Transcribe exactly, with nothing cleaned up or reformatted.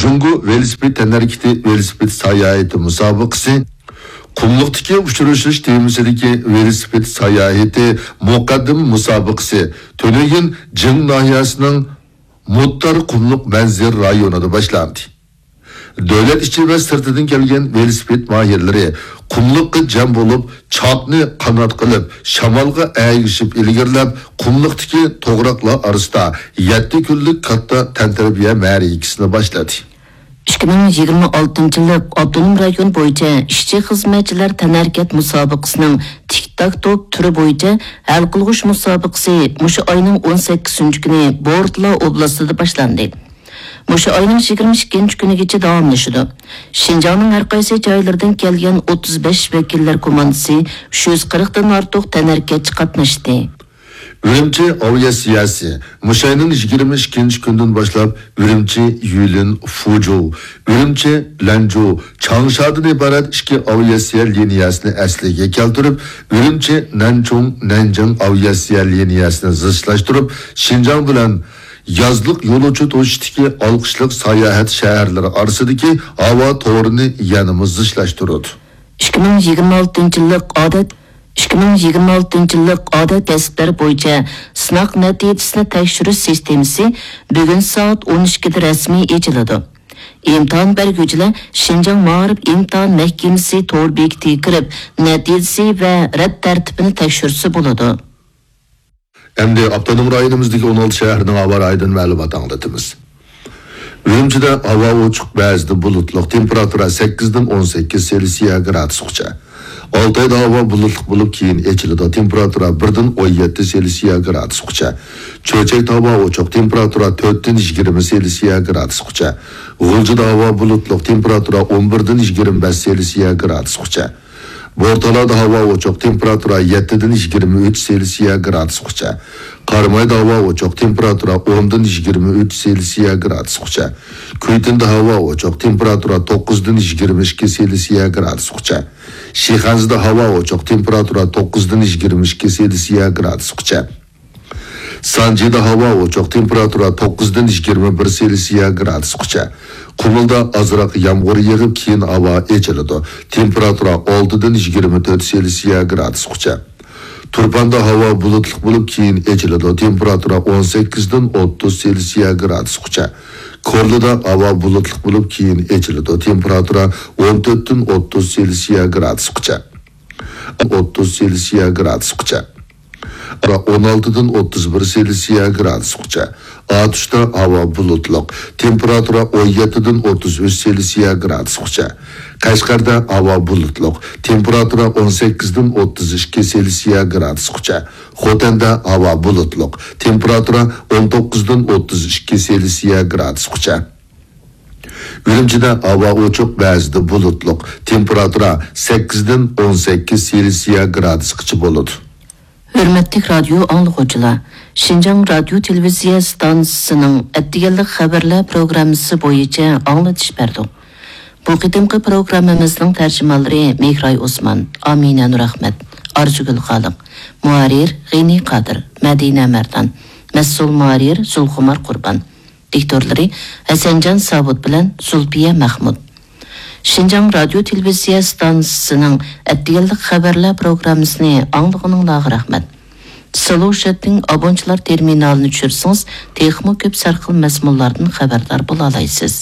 جۇڭگو ۋېلىسىپىت تەنھەرىكىتى ۋېلىسىپىت ساياھىتى مۇسابىقىسى، قۇملۇقتىكى ئۇچرىشىش تېمىسىدىكى ۋېلىسىپىت ساياھىتى مۇقەددىمە مۇسابىقىسى تۈنۈگۈن جىڭ ناھىيەسىنىڭ مۇتتار قۇملۇق مەنزىرە رايونىدا باشلاندى. دۆلەت ئىچى ۋە سىرتىدىن كەلگەن ۋېلىسىپىت ماھىرلىرى قۇملۇققا جەم بولۇپ، چاپنى قانات قىلىپ، شامالغا ئەگىشىپ ئىلگىرىلەپ، قۇملۇقتىكى توغراقلار ئارىسىدا يەتتە كۈنلۈك كاتتا تەنتەربىيە مەرىكىسىنى باشلىدى. ئىككى مىڭ يىگىرمە ئالتىنچى يىللىق ئاپتونوم رايون بويىچە ئىشچى-خىزمەتچىلەر تەنھەرىكەت مۇسابىقىسىنىڭ تىك-تاك توپ تۈرى بويىچە ھەل قىلغۇچ مۇسابىقىسى مۇشۇ ئاينىڭ ئون سەككىزىنچى كۈنى بورتلا ئوبلاستىدا باشلاندى. مۇشۇ ئاينىڭ يىگىرمە ئىككىنچى كۈنىگىچە داۋاملىشىدۇ. شىنجاڭنىڭ ھەر قايسى جايلىرىدىن كەلگەن ئوتتۇز بەش ۋەكىللەر كوماندىسى، ئۈچ يۈز قىرىقتىن ئارتۇق تەنھەرىكەتچى قاتناشتى. ئۈرۈمچى ئاۋىئاتسىيەسى مۇشۇ ئاينىڭ يىگىرمە ئىككىنچى كۈنىدىن باشلاپ ئۈرۈمچى، يۈلۈن، فۇجۇ، ئۈرۈمچى، لەنجۇ، چاڭشادىن ئىبارەت ئىككى ئاۋىئاتسىيە لىنىيەسىنى ئەسلىگە كەلتۈرۈپ، ئۈرۈمچى، نەنچۇڭ، نەنجىڭ ئاۋىئاتسىيە لىنىيەسىنى زىچلاشتۇرۇپ، شىنجاڭ بىلەن يازلىق يولۇچى توشۇشتىكى ئالقىشلىق ساياھەت شەھەرلىرى ئارىسىدىكى ھاۋا تورىنى يەنىمۇ زىچلاشتۇرىدۇ. ئىككى مىڭ يىگىرمە ئالتىنچى يىللىق ئادەت، ئىككى مىڭ يىگىرمە ئالتىنچى يىللىق ئادەت كەسىپلەر بويىچە سىناق نەتىجىسىنى تەكشۈرۈش سىستېمىسى بۈگۈن سائەت ئون ئىككىدە رەسمىي ئېچىلىدۇ. ئىمتىھان بەرگۈچىلەر شىنجاڭ مائارىپ ئىمتىھان مەھكىمىسى تور بېكىتىگە كىرىپ، نەتىجىسى ۋە رەت تەرتىپىنى تەكشۈرسە بولىدۇ. ئەمدى ئاپتونوم رايونىمىزدىكى ئون ئالتە شەھەرنىڭ ھاۋا رايىدىن مەلۇمات ئاڭلىتىمىز. ئۈرۈمچىدە ھاۋا ئوچۇق، بەزىدە بۇلۇتلۇق، تېمپېراتۇرا سەككىزدىن ئون سەككىز سېلسىيە گرادۇسقىچە. ئالتايدا ھاۋا بۇلۇتلۇق بولۇپ، كېيىن ئېچىلىدۇ، تېمپېراتۇرا بىردىن ئون يەتتە سېلسىيە گرادۇسقىچە. چۆچەكتە ھاۋا ئوچۇق، تېمپېراتۇرا تۆتتىن يىگىرمە سېلسىيە گرادۇسقىچە. غۇلجىدا ھاۋا بۇلۇتلۇق، تېمپېراتۇرا ئون بىردىن يىگىرمە بەش سېلسىيە گرادۇسقىچە. بورتالادا ھاۋا ئوچۇق، تېمپېراتۇرا يەتتىدىن يىگىرمە ئۈچ سېلسىيە گرادۇسقىچە. قارامايدا ھاۋا ئوچۇق، تېمپېراتۇرا ئوندىن يىگىرمە ئۈچ سېلسىيە گرادۇسقىچە. كۈيتىندە ھاۋا ئوچۇق، تېمپېراتۇرا توققۇزدىن يىگىرمە ئىككى سېلسىيە گرادۇسقىچە. شىخەنزىدە ھاۋا ئوچۇق، تېمپېراتۇرا توققۇزدىن يىگىرمە ئىككى سېلسىيە گرادۇسقىچە. سانجىدا ھاۋا ئوچۇق، تېمپېراتۇرا توققۇزدىن يىگىرمە بىر سېلسىيە گرادۇسقىچە. قۇمۇلدا ئازراق يامغۇر يېغىپ، كېيىن ھاۋا ئېچىلىدۇ. تېمپېراتۇرا ئالتىدىن يىگىرمە تۆت سېلسىيە گرادۇسقىچە. تۇرپاندا ھاۋا بۇلۇتلۇق بولۇپ، كېيىن ئېچىلىدۇ. تېمپېراتۇرا ئون سەككىزدىن ئوتتۇز سېلسىيە گرادۇسقىچە. كورلىدا ھاۋا بۇلۇتلۇق بولۇپ، كېيىن ئېچىلىدۇ. تېمپېراتۇرا ئون تۆتتىن ئوتتۇز سېلسىيە گرادۇسقىچە. ئوتتۇز سېلسىيە گرادۇسقىچە. ئون ئالتىدىن ئوتتۇز بىر سېلسىيە گرادۇسقىچە. ئاتۇشتا ھاۋا بۇلۇتلۇق، تېمپېراتۇرا ئون يەتتىدىن ئوتتۇز ئۈچ سېلسىيە گرادۇسقىچە. قەشقەردە ھاۋا بۇلۇتلۇق، تېمپېراتۇرا ئون سەككىزدىن ئوتتۇز ئىككى سېلسىيە گرادۇسقىچە. خوتەندە ھاۋا بۇلۇتلۇق، تېمپېراتۇرا ئون توققۇزدىن ئوتتۇز ئىككى سېلسىيە گرادۇسقىچە. ئۈرۈمچىدە ھاۋا ئوچۇق، بەزىدە بۇلۇتلۇق، تېمپېراتۇرا سەككىزدىن ئون سەككىز سېلسىيە گرادۇسقىچە بولىدۇ. ھۆرمەتلىك رادىيو ئاڭلىغۇچىلار، شىنجاڭ رادىيو تېلېۋىزىيە ئىستانسىسىنىڭ ئەتىگەنلىك خەۋەرلەر پروگراممىسى بويىچە ئاڭلىتىش بەردۇق. بۇ قېتىمقى پروگراممىمىزنىڭ تەرجىمانلىرى مېھراي ئوسمان، ئامىنە نۇرئەخمەت، ئارزۇگۈل خالىق، مۇھەررىر غېنى قادىر، مەدىنە مەردان، مەسئۇل مۇھەررىر زۇلخۇمار قۇربان. دىكتورلىرى ھەسەنجان ساۋۇت بىلەن زۇلپىيە مەخمۇت. شىنجاڭ رادىيو تېلېۋىزىيە ئىستانسىسىنىڭ ئەتىگەنلىك خەۋەرلەر پروگراممىسىنى ئاڭلىغىنىڭلارغا رەھمەت. سىلۇشەتنىڭ ئابونچىلار تېرمىنالىنى چۈشۈرسىڭىز، تېخىمۇ كۆپ سەرخىل مەزمۇنلاردىن خەۋەردار بولالايسىز.